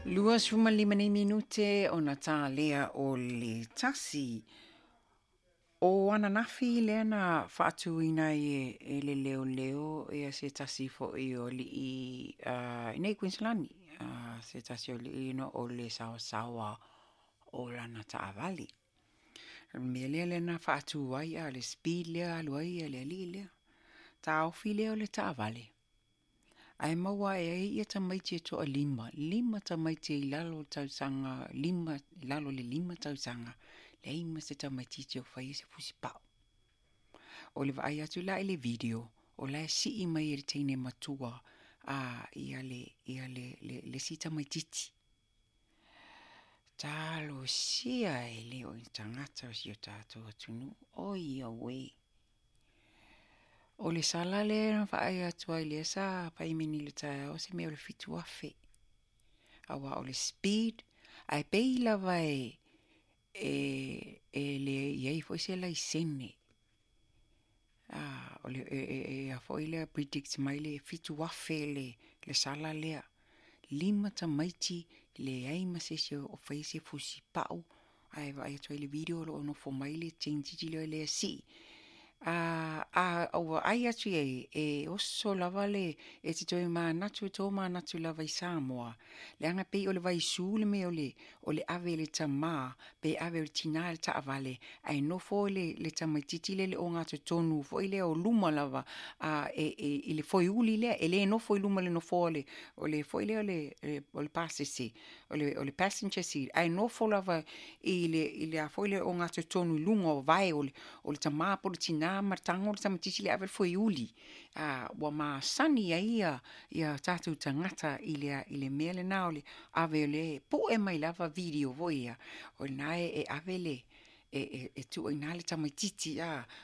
25 nei minute ona tā lea o le 1. O ananafi lea na faatuina ai e le leoleo ia se tasi foi o alii i nei Kuiniselani, se tasi o alii ona o le saosaoa o lana taavale. O le mea lea na faatu ai le speed lea alu ai le alii lea. Taofi lea o le taavale, ae maua ae ai ia tamaiti e toalima, 5 tamaiti i lalo o le tausaga, 5, i lalo o le 5 tausaga, leai ma se tamaitiiti o faia se fusipau. O le vaai atu la i le video, o la e sii mai e le teine matua ia le isi tamaitiiti. Talosia e le o ni tagata o si o tatou atunuu. Oi auē. O le sala lea na vaai atu ai lea sa paimene i le taeao se mea o le 7,000. Auā o le speed, ae pei lava e le i ai foi se laisene. O le e a foi lea predict mai le 7,000 le sala lea. 5 tamaiti leai ma se isi o faia se fusipau, ae vaai atu ai le video o lo o nofo mai le tamaitiiti lea e sii. A ou vaai atu i ai, e oso lava le, e te toe manatu, e tomanatu lava i Samoa, leaga pei o le vaisu le mea o le ave i le tamā, pe ave o le tinā i le taavale, ae nofo le tamaitiiti lea i le ogatotonu foi lea o luma lava, i le foeuli lea, e le nofo i luma o le nofoa o le foi lea o le pasese, o le passenger seat, ae nofo lava i le a foi lea ogatotonu i luga o vae o le tamā po o le tinā ma le tago le tamaitiiti lea e ave le foeuli. Ua masani ai ia tatou tagata i le mea lena o le ave o le pue mai lava video foi ia, o lena e ave le, e tuu i ina le tamaitiiti,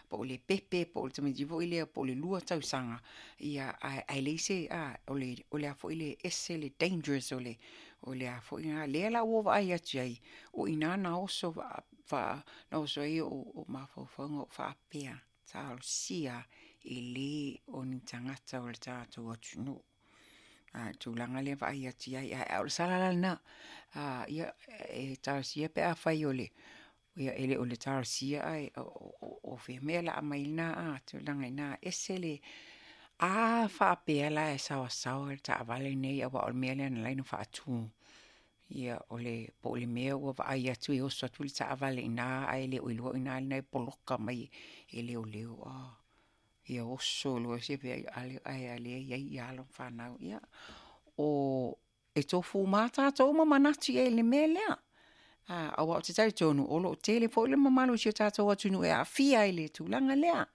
po o le pepe, po o le tamaitiiti foi lea, po o le 2 tausaga, ia, ae leai se, o le a foi le ese le dangerous o le a foi lena, lea la ua ou vaai atu ai, o i ina na oso ai ou mafaufauga ou faapea, talosia e le o ni tagata o le tatou atunuu. Tulaga lea vaai atu ai, ae o le sala la lena, ia, e talosia pe afai o le, ia e le o le talosia ae o fea mea o le a aumai lena tulaga i ina, ese le, a faapea la e saosaoa le taavale nei, aua o le mea lea na ala ai ona faatu. Ia o le, po o le mea ua vaai atu e oso atu le taavale i ina, ae le o iloa o i ina lena e poloka mai e leoleo. Ia oso loa se ae o lea e i ai alo ma fanau. Ia, o e tofu uma lava tatou ma manatu i ai i le mea lea. Aua ou te talitonu o lo o tele foi le mamalu o si o tatou atunuu e aafia i le tulaga lea.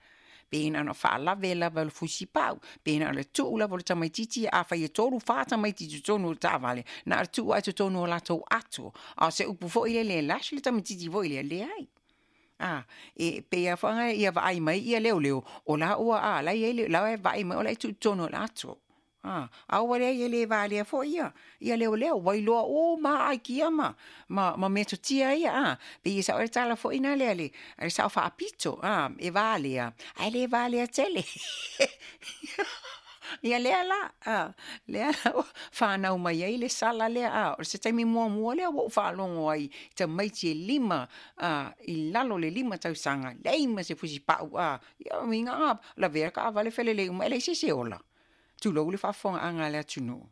Pe na ona faalave lava o le fusipau, pe na o le tuu lava o le tamaitiiti, afai e 3, 4 tamaiti i totonu o le taavale, na o le tuu lava i totonu o latou ato. A o se upu foi lele e lash le tamaitiiti foi lea, leai. E pei lava foi ia vaai mai ia leoleo, o la ua, la i ai le, la e vaai mai o la e tuu i totonu o le ato. A ua leai e le valea foi ia leoleo, ua iloa uma aikia ma metotia ia, Pei e sao le tala foi na lea le sao faapito, e valea, ae le valea tele. Ia lea la, lea la ua whanau mai ai le sala lea, o se taimi muamua lea ua ou faalogo ai i tamaiti e 5, i lalo le 5 tausaga, leai ma se fusipau, ia uiga, lavea le taavale felelei uma, e leai se isi e ola. Tulou le faafofogaaga a le atunuu.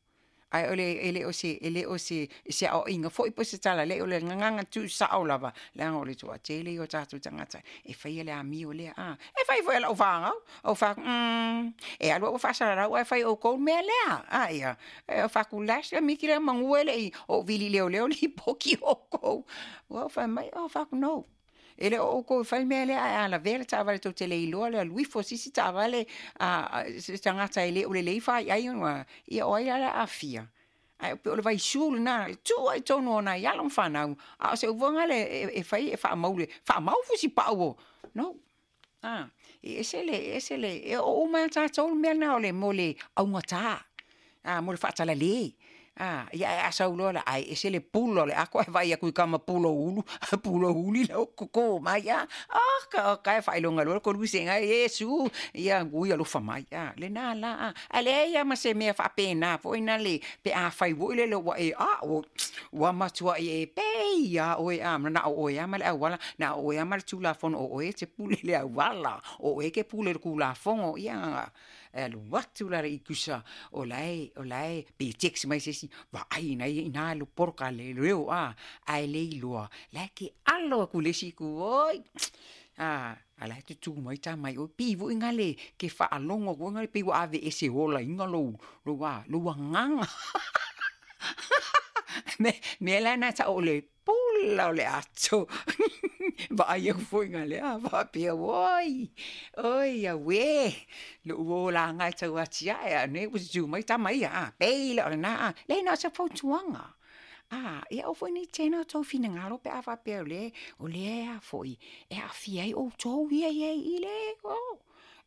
Ae o le, e le o se, e le o se, se aoaiga foi po o se tala, leai o le gagana tuusao lava, leaga o le toatele ia o tatou tagata e faia le amio lea, E fai foi e lau fanau, ou fai atu, e alu au e faasalalau ae fai e outou le mea lea, ia, e fai atu lash le miki lea manu e le i ou vili leoleo lipoti outou. Ua ou fai mai, ou fai atu, no. E le o outou e fai le mea lea, ae a lavea le taavale tou te le iloa le alu ifo o se isi taavale, se tagata e le o lelei faiai, ia o ai la o le a aafia. Ae pei o le vaisu lena, e tuu ai i totonu o nai alo ma fanau, a o se upu foi lea e fai e faamau le, faamau fusipau o, no. E ese le, e ese le, e oo uma lava tatou le mea lena o le mo le augata, mo le faatalale. A, ia ae a sau loa la ae ese le pula o le ato ae vaai atu i tama puloulu pulouli lau toto mai a. Oka oka e faailoga loa le koluse Iesu, ia ui alofa mai a, lena la a. Ae leai lava ma se mea faapena foi nale pe afai foi lele ua e ua matuai e pei lava oe a, na o oe lava ma le auala, na o oe lava ma le Tulafono o oe e te pule i le auala, o oe e te pule i le Tulafono. Ia e alu atu la le itusa o la e pe text mai se isi, vaai i ina le poloka a leoleo a, ae le iloa, la e te alo atu i le isi itu, oi a la e tutu mai tama i o. Pei foi lea e te faalogo atu foi lea pei ua aveese olaina lou lou agaga. O le mea la lena e tau o le pula o le ato. Vaai atu foi lea faapea, oi, oi auē, lou olaga e tau atiae, a o lenei ua tutu mai tama ia, a, pei la o lena a. Leai na o se fautuaga, ia aua foi ne i teena outou finagalo pe a faapea o lea foi e aafia ai outou ia e i ai i i, leai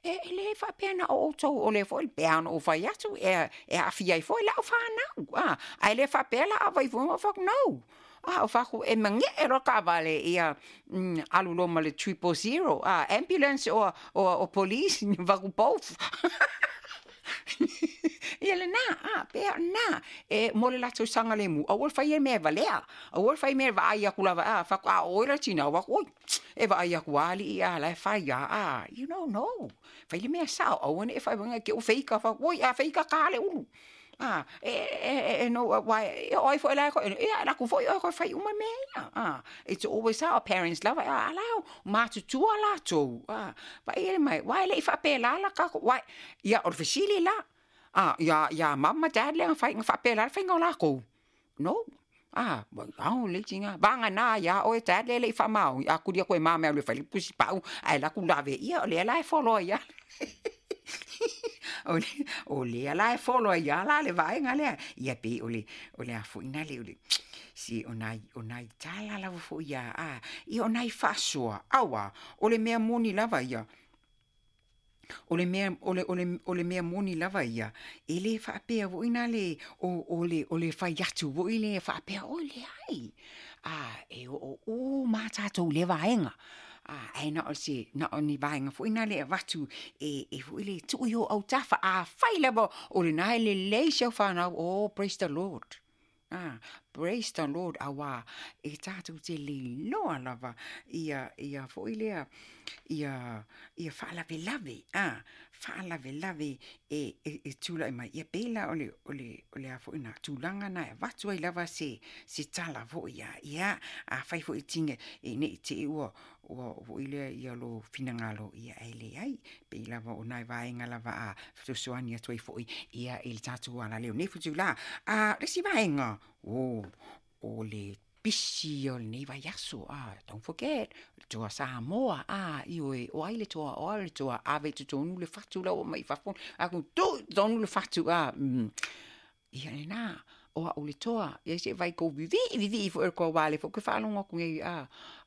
e le faapea na o outou, o lea foi e pei lava ona ou fai atu, e aafia ai foi lau fanau, ae le faapea la a fai ou fai atu, no, ou fai atu, e magee loa le taavale, ia alu loa ma le 000, ambulance or police, ou fai atu, both. Ia lena, pei o lena, e mo le latou saogalemu, aua le faia mea e valea, aua le faia mea e vaai atu lava, fai atu, a o oe la le tina, ou fai atu, oi, e vaai atu lava alii a o la e fai lava, you know, no. Fai le mea sao, aua ne i fai i te i ua feita, oi a feita ta le ulu. No, aua o ai foi la e toe, ia e alu atu foi oe e toe fai uma mea ia. It's always our parents lava, a la e matutua latou, vaai mai, aua e le i faapela la tatou, ia o le fesili la, ia mum ma dad lea na fai, na faapela le faiga o latou? No. Ao le tina, vagana ia oe dad lea e le i faamaoni, a tuli atu e mama e alu e fai le tusipau, ae alu atu lave, ia o lea la e follow ai lava. O lea la e follow ai lava la le vaega lea. Ia pei o le a foi nale o le se o nai tala lava foi ia, ia o nai faasoa, aua o le mea moni lava ia. O le mea moni lava ia, e le faapea foi nale o le fai atu foi lea faapea, oi leai, e oo uma lava tatou i lea vaega. Ae na o ni vaega foi nale e avatu e foi le tuu i ou autafa. Afai lava o lena e lelei si au fanau, oh, praise the Lord. Praise the Lord, aua e tatou te leiloa lava ia foi lea, ia faalavelave, faalavelave e tulai mai. Ia pei la o le a foi na tulaga na e avatu ai lava se tala foi ia. Ia, afai foi tinga e nei te i ua foi lea ia lo finagalo, ia e leai. Pei lava o nai vaega lava a fesoasoani atu ai foi ia i le tatou alaleo nei futula. Le isi vaega, o le pisi o lenei vaiaso, don't forget, le toa Samoa, ioe, o ai le toa, o ai le toa, ave i totonu le fatu la ua mai fafo, aku tu i totonu le fatu, ia lena, o au le toa, ia se vai kou vivii, vivii foi o le toa wale foi, ke whaalongo atu nei,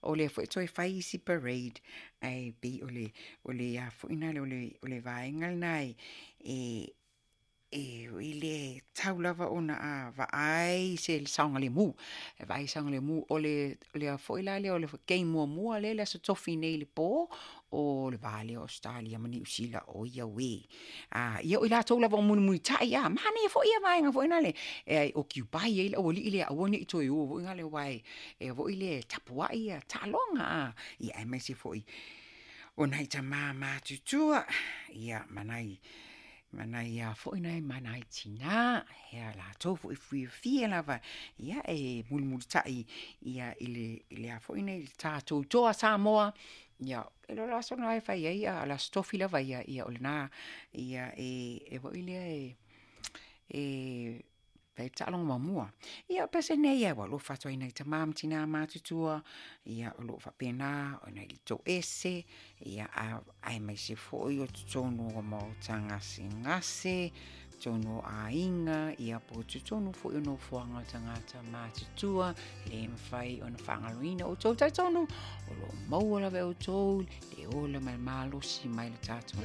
o lea foi toe fai isi parade, ai pei o le a foi nale, o le vaega lena e i le tau lava ona a vaai se saogalemu. E vaai saogalemu o le foi la lea o le game muamua lea le aso tofi nei le po o le va lea o Australia ma Niu Sila, o ia uē. Ia o i latou lava o mulimulitai, manaia foi ia vaega foi nale, e occupy ai le aualii lea, aua ne i toe o foi nale aua e foi le tapuai ia taaloga, ia aemaise foi o nai tama matutua, ia ma nai a foi nai ma nai tina, hea latou foi fiafia lava, ia e mulimulitai ia i le a foi nei le tatou toa Samoa, ia e lo aso na e fai ai, a la aso tofi lava ia, ia o lena, ia e foi lea e fai taaloga muamua. Ia o pese nei e ua alofa atu ai nai tama ma tina matutua, ia o loo faapena ona i le toese, ia aemaise foi o totonu o maota gasegase, totonu o aiga, ia po o totonu foi o nofoaga o tagata matutua, le mafai ona faagaloina outou. Talitonu o loo maua lava e outou le ola ma le malosi mai le tatou